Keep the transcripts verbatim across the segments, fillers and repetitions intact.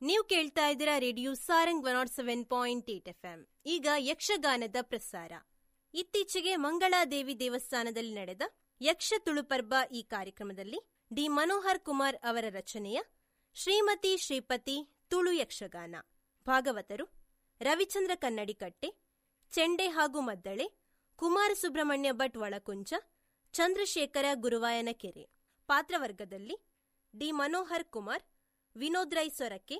ನೀವು ಕೇಳ್ತಾ ಇದ್ದೀರಾ radio Sarang one nought seven point eight F M. ಈಗ ಯಕ್ಷಗಾನದ ಪ್ರಸಾರ. ಇತ್ತೀಚೆಗೆ ಮಂಗಳಾದೇವಿ ದೇವಸ್ಥಾನದಲ್ಲಿ ನಡೆದ ಯಕ್ಷ ತುಳುಪರ್ಬ ಈ ಕಾರ್ಯಕ್ರಮದಲ್ಲಿ ಡಿ ಮನೋಹರ್ ಕುಮಾರ್ ಅವರ ರಚನೆಯ ಶ್ರೀಮತಿ ಶ್ರೀಪತಿ ತುಳು ಯಕ್ಷಗಾನ. ಭಾಗವತರು ರವಿಚಂದ್ರ ಕನ್ನಡಿಕಟ್ಟೆ, ಚೆಂಡೆ ಹಾಗೂ ಮದ್ದಳೆ, ಕುಮಾರ ಸುಬ್ರಹ್ಮಣ್ಯ ಭಟ್ ಒಳಕುಂಚ, ಚಂದ್ರಶೇಖರ ಗುರುವಾಯನಕೆರೆ. ಪಾತ್ರವರ್ಗದಲ್ಲಿ D Manohar Kumar, Vinod Rai Sorake,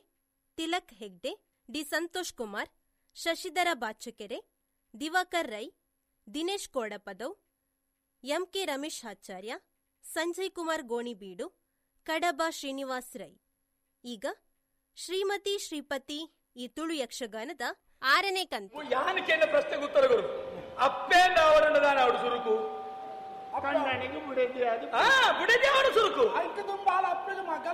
Tilak Hegde, D Santosh Kumar, Shashidhara Bachakere, Diwakar Rai, Dinesh Kodapadav, M K Ramesh Acharya, Sanjay Kumar Gonibeedu, Kadaba Srinivas Rai. ಈಗ ಶ್ರೀಮತಿ ಶ್ರೀಪತಿ ಈ ತುಳು ಯಕ್ಷಗಾನದ ಆರನೇ ಕಂತು. ಯಾನಕ್ಕೆ ಪ್ರಶ್ನೆಗೆ ಉತ್ತರ ಕೊಡು. ಅಪ್ಪೇಂದ ಅವರನ್ನ ಅವಡು ಸುರುಕು ಕಣ್ಣನಿಗೆ ಬುಡದಿ ಅದು ಬುಡದಿ ಅವಡು ಸುರುಕು ಅಪ್ಪೆಗೆ ಮಗ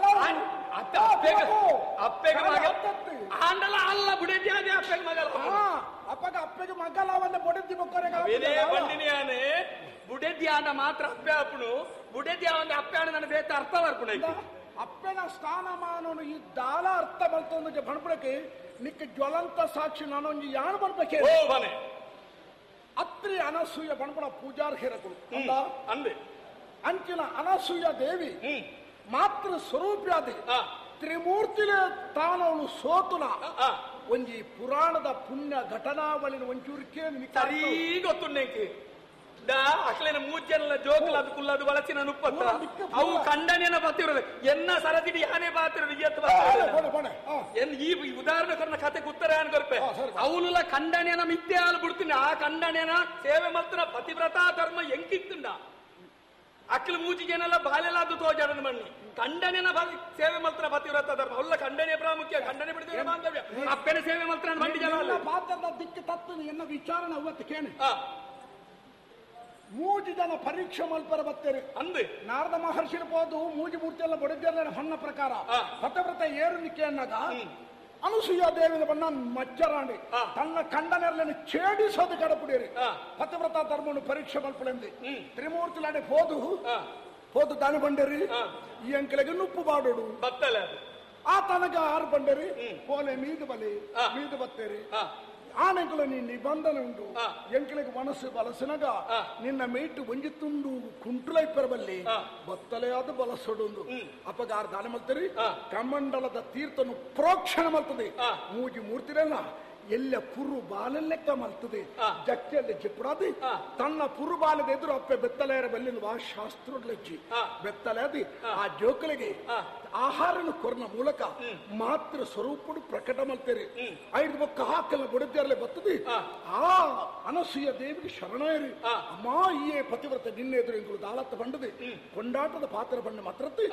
ಆಂಡಲ ಅಲ್ಲ ಬುಡದಿ ಅದೇ ಅಪ್ಪೆಗೆ ಮಗಲ ಅಪ್ಪಗ ಅಪ್ಪಗೆ ಮಗಲ ಅವನ್ನ ಬುಡದಿ ಬೊಕ್ಕರೆ ಬಂಡಿನಿಯಾನೆ ಬುಡದಿ ಆನ ಮಾತ್ರ ಅಪ್ಪೆ ಅಪ್ಪನು ಬುಡದಿ ಅವನ ಅಪ್ಪೆ ಆಣ ನನ್ನ ಬೇತ ಅರ್ಥ ಬರ್ಪುಣ ಅಪ್ಪನ ಸ್ಥಾನಮಾನನು ಈ ದಾಲ ಅರ್ಥ ಬಲ್ತೊಂದು ಬಣ್ಪುಡಕ್ಕೆ ನಿಕ್ಕ ಜ್ವಲಂತ ಸಾಕ್ಷಿ ನಾನೊಂದು ಯಾನು ಬರ್ಬೇಕೆ ಅತ್ರಿ ಅನಸೂಯ ಬಣ್ಪುಣ ಪೂಜಾರ್ಹಿರಕುಲು ಅಂದೆ ಅಂಚಿನ ಅನಸೂಯ ದೇವಿ ಮಾತೃ ಸ್ವರೂಪ್ಯಾದಿ ತ್ರಿಮೂರ್ತಿಲೇ ತಾನವಳು ಸೋತುನ ಒಂಜಿ ಪುರಾಣದ ಪುಣ್ಯ ಘಟನಾವಳಿನ ಒಂಚೂರಿಕೆ ಸರಿ ಗೊತ್ತುಂಡೆಂಕಿ ಅಕ್ಲೇನ ಮೂಜೆಲ್ಲ ಜೋಕುಲ ಅದು ಕುಲ್ಲದು ಬಳಸಿನ ನುಪ್ಪತ್ತ ಅವು ಖಂಡನೆನ ಬತ್ತಿರೋದು ಎನ್ನ ಸರದಿಡಿ ಯಾನೇ ಬಾತಿರೋದು ಎನ್ ಈ ಉದಾಹರಣೆ ಕೊರ್ನ ಕತೆ ಉತ್ತರ ಏನ್ ಕೊರ್ಪೆ ಅವನುಲ ಖಂಡನೆನ ಮಿಥ್ಯೆ ಹಾಲು ಬಿಡ್ತೀನಿ ಆ ಖಂಡನೆನ ಸೇವೆ ಮಲ್ತನ ಪತಿವ್ರತಾ ಧರ್ಮ ಎಂಕಿತ್ತುಂಡ ಅಕ್ಲು ಮೂಜಿಗೆನೆಲ್ಲ ಬಾಲೆಲ್ಲ ಅದು ತೋಜಾಡನ ಮಣ್ಣಿ ಖಂಡನೆನ ಸೇವೆ ಮಲ್ತನ ಪತಿವ್ರತ ಧರ್ಮ ಅವಲ್ಲ ಖಂಡನೆ ಪ್ರಾಮುಖ್ಯ ಖಂಡನೆ ಬಿಡಿದ್ರೆ ಬಾಂಧವ್ಯ ಅಪ್ಪನ ಸೇವೆ ಮಲ್ತನ ಮಂಡಿ ಜನ ಪಾತ್ರದ ದಿಕ್ಕು ತತ್ತು ಎನ್ನ ವಿಚಾರಣೆ ಅವತ್ತು ಕೇಳಿ ಮೂಜಿ ಜನ ಪರೀಕ್ಷೆ ಮಲ್ಪರ ಬತ್ತೇರಿ ಅಂದೆ ನಾರದ ಮಹರ್ಷಿನ ಹೋದು ಮೂಜಿ ಮೂರ್ತಿ ಎಲ್ಲ ಬಡಿದ್ಯಲ್ಲ ಹಣ್ಣ ಪ್ರಕಾರ ಪತವ್ರತ ಏರು ನಿಕ್ಕೆ ಅನ್ನಗ ಅನುಸೂಯ ದೇವಿನ ಬಣ್ಣ ಮಚ್ಚರಾಣಿ ತನ್ನ ಕಂಡನೆರಲನ್ನು ಛೇಡಿಸೋದು ಕಡಪುಡಿಯರಿ ಪತವ್ರತ ಧರ್ಮವನ್ನು ಪರೀಕ್ಷೆ ಮಲ್ಪಲೆಂದು ತ್ರಿಮೂರ್ತಿಲಾಡೆ ಹೋದು ಹೋದು ದಾನ ಬಂಡೇರಿ ಈ ಅಂಕಲಿಗೆ ನುಪ್ಪು ಬಾಡೋಡು ಬತ್ತಲೆ ಆ ತನಗ ಆರು ಬಂಡೇರಿ ಪೋಲೆ ಮೀದು ಬಲಿ ಮೀದು ಬತ್ತೇರಿ ಆನೆಂಕುಲ ನೀ ನಿಬಂಧನೆ ಉಂಟು ಎಂಕಲಿಗೆ ಮನಸ್ಸು ಬಲಸಿನಗ ನಿನ್ನ ಮೇಟು ಒಂಜಿ ತುಂಡು ಕುಂಟುಲೈಪರಬಲ್ಲಿ ಬತ್ತಲೆಯಾದ ಬಲಸೊಡುಂದು ಅಪಗಾರ ದಾನ ಮಲ್ತರಿ ಕಮಂಡಲದ ತೀರ್ಥನು ಪ್ರೋಕ್ಷಣ ಮಲ್ತದೆ ಮೂಜಿ ಮೂರ್ತಿರಲ್ಲ ಎಲ್ಲ ಪುರು ಬಾಲಲೆಕ್ಕ ಮಲ್ತದೆ ಜಕ್ಕೆಯಲ್ಲಿ ಜಿಪ್ಪುಡಾದಿ ತನ್ನ ಪುರು ಬಾಲದ ಎದುರು ಅಪ್ಪೆ ಬೆತ್ತಲೆಯರ ಬಲ್ಲಿನ ವಾ ಶಾಸ್ತ್ರಲಜ್ಜಿ ಬೆತ್ತಲೆದಿ ಆ ಜೋಕಲಿಗೆ ಆಹಾರನ ಕೊರ್ನ ಮೂಲಕ ಮಾತೃ ಸ್ವರೂಪಡು ಪ್ರಕಟ ಮಲ್ತೇರಿ ಐದು ಬೊಕ್ಕ ಹಾಕಲ್ಲ ಬುಡದ್ಯರ್ಲೆ ಬರ್ತದೆ ಆ ಅನಸೂಯ ದೇವಿಗೆ ಶರಣೇರಿ ಅಮ್ಮ ಈಯೇ ಪತಿವ್ರತ ನಿನ್ನೆ ಎದುರು ಎಂಕುಲು ದಾಳತ್ತ ಬಂಡದೆ ಕೊಂಡಾಟದ ಪಾತ್ರ ಬಂಡ ಮಾತ್ರತ್ತೆ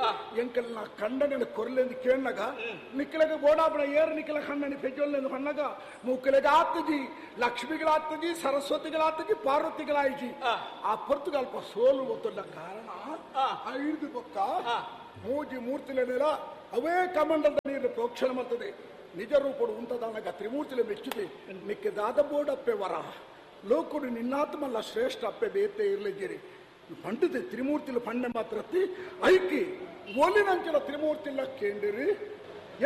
ಎಂಕಲ್ನ ಕಂಡನೆ ಕೊರ್ಲೆಂದು ಕೇಳನಾಗ ನಿಕ್ಕಲಗ ಬೋಡಾಪಣ ಏರು ನಿಕ್ಕಲ ಕಣ್ಣನಿ ಪೆಜ್ಜೊಲ್ಲೆಂದು ಹಣ್ಣಗ ಮೂಕಲೆಗೆ ಆತಜಿ ಲಕ್ಷ್ಮಿಗಳಾತಜಿ ಸರಸ್ವತಿಗಳಾತಜಿ ಪಾರ್ವತಿಗಳಾಯಿಜಿ ಆ ಪೊರ್ತುಗಲ್ಪ ಸೋಲು ಗೊತ್ತಿಲ್ಲ ಕಾರಣ ಐದು ಬೊಕ್ಕ ಮೂಜಿ ಮೂರ್ತಿಲೆನೆಲ್ಲ ಅವೇ ಕಮಂಡಲದ ನೀರು ಪ್ರೋಕ್ಷಣ ಮಾಡ್ತದೆ ನಿಜ ರೂಪಡು ಉಂಟದಾನಗ ತ್ರಿಮೂರ್ತಿಲೆ ಮೆಚ್ಚಿದೆ ನಿಕ್ಕೆ ದಾದ ಬೋಡಪ್ಪೆ ವರ ಲೋಕುಡು ನಿನ್ನಾತ್ಮಲ್ಲ ಶ್ರೇಷ್ಠ ಅಪ್ಪೆ ಬೇತೆ ಇರ್ಲಿದ್ದೀರಿ ಪಂಡಿತೆ ತ್ರಿಮೂರ್ತಿಲ ಪಂಡೆ ಮಾತ್ರತ್ತಿ ಐಕಿ ಒಲಿನಂಚಿನ ತ್ರಿಮೂರ್ತಿಲ ಕೇಂದಿರಿ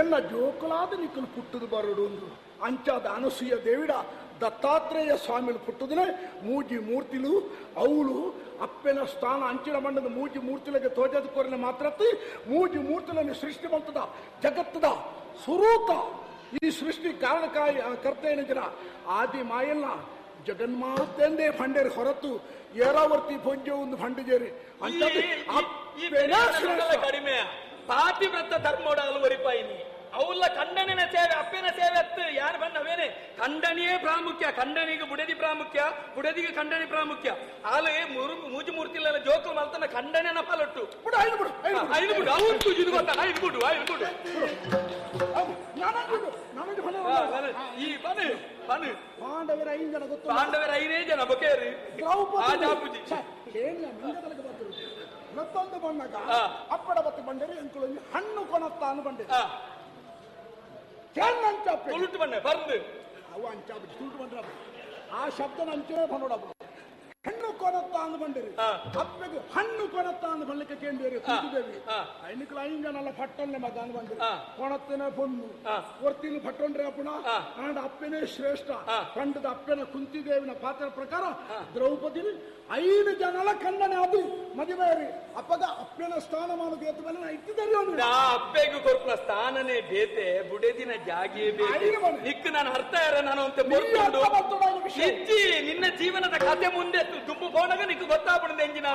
ಎಲ್ಲ ಜೋಕುಲಾದ ನಿಕ್ಕಲು ಪುಟ್ಟದು ಬರಡು ಒಂದು ಅಂಚಾದ ಅನಸೂಯ ದೇವಿಡ ದತ್ತಾತ್ರೇಯ ಸ್ವಾಮಿಲು ಪುಟ್ಟದನೆ ಮೂಜಿ ಮೂರ್ತಿಲು ಅವಳು ಅಪ್ಪೆನ ಸ್ಥಾನ ಅಂಚಿನ ಮಣ್ಣದ ಮೂಜಿ ಮೂರ್ತಿಲಗೆ ತೋಜದ ಕೊರಿನ ಮಾತ್ರತ್ತಿ ಮೂಜಿ ಮೂರ್ತಿలను ಸೃಷ್ಟಿ ಮಾಡ್ತದ ಜಗತ್ತದ ಸುರೂತ ಈ ಸೃಷ್ಟಿ ಕಾರಣಕಾಯಿ ಕರ್ತ ಏನಿದ್ದೀರ ಆದಿ ಮಾಯಲ್ಲ ಜಗನ್ಮಾತೆಂದೇ ಫಂಡೇರಿ ಹೊರತು ಏರಾವರ್ತಿ ಪೊಂಜೆ ಒಂದು ಫಂಡಿಜೇರಿ ಅಂತ ಕಡಿಮೆ ಪಾತಿವ್ರತ ಧರ್ಮೋಡ ಅಲುವರಿಪಾಯಿನಿ ಅವಲ್ಲ ಖಂಡನಿನ ಸೇವೆ ಅಪ್ಪನ ಸೇವೆ ಅತ್ತು ಯಾರು ಬಣ್ಣವೇನೆ ಖಂಡನಿಯೇ ಪ್ರಾಮುಖ್ಯ ಖಂಡನಿಗೆ ಬುಡದಿ ಪ್ರಾಮುಖ್ಯ ಬುಡದಿಗೆ ಖಂಡನಿ ಪ್ರಾಮುಖ್ಯ ಆಲೆ ಮುರು ಮೂಜು ಮೂರ್ತಿಲ್ಲ ಜೋಕು ಮಲ್ತನ ಖಂಡನೆನ ಪಾಲೊಟ್ಟು ಬಿಡು ಐದು ಬಿಡು ಐದು ಬಿಡು ಅವತ್ತು ಇದು ಗೊತ್ತಾ ಐದು ಬಿಡು ಐದು ಬಿಡು ಈ ಬನ್ನಿ ಬನ್ನಿ ಪಾಂಡವರ ಐದು ಜನ ಗೊತ್ತು ಪಾಂಡವರ ಐದೇ ಜನ ಬೊಕೇರಿ ದ್ರೌಪದಿ ಮತ್ತೊಂದು ಬಣ್ಣಗ ಅಪ್ಪಡ ಬತ್ತು ಬಂಡೇರಿ ಎಂಕುಲು ಹಣ್ಣು ಕೊನತ್ತಾನು ಬಂಡೆ ತುಳುಟು ಬಣ್ಣ ಬಂದು ಅವು ಅಂಚ ತುಳುಟು ಬಂದ್ರ ಆ ಶಬ್ದನ ಅಂಚೆ ಬಂದೋಡ ಹಣ್ಣು ಕೊನತ್ತ ಅಂದ್ ಬಂದಿರಿ ಅಪ್ಪೆಗೆ ಹಣ್ಣು ಕೊನತ್ತ ಅಂದ್ ಬಳ್ಳಿಕೆ ಕೇಂದ್ರಿ ಕುಂತಿದೇವಿ ಐನಕ್ಲ ಐನ್ ಜನಲ ಫಟ್ಟೊನ್ನೆ ಮಗ ಅಂದ್ ಬಂದಿರಿ ಕೊಣತ್ತನೆ ಪೊಣ್ಣು ಒರ್ತಿನ ಫಟ್ಟೊಂಡ್ರೆ ಅಪ್ಪಣ ಆಂಡ ಅಪ್ಪೆನೇ ಶ್ರೇಷ್ಠ ಪಂಡದ ಅಪ್ಪೆನ ಕುಂತಿದೇವಿನ ಪಾತ್ರ ಪ್ರಕಾರ ದ್ರೌಪದಿ ಐದು ಜನಲ ಖಂಡನೆ ಅದು ಮದುವೆ ಅಪ್ಪಗ ಅಪ್ಪೆನ ಸ್ಥಾನಮಾನ ದೇತ ಮೇಲೆ ನಾ ಇಟ್ಟಿದ್ದಾರೆ ಅಪ್ಪೆಗೂ ಕೊರ್ಪುನ ಸ್ಥಾನನೇ ಬೇತೆ ಬುಡೆದಿನ ಜಾಗಿಯೇ ಬೇತೆ ನಿಕ್ಕು ನಾನು ಅರ್ಥ ಯಾರ ನಾನು ಅಂತ ನಿಜ್ಜಿ ನಿನ್ನ ಜೀವನದ ಕಥೆ ಮುಂದೆ ದುಂಬು ಪೋಣಗ ನಿಕ್ಕು ಗೊತ್ತಾಗ್ಬಿಡುದು ಎಂಜಿನ.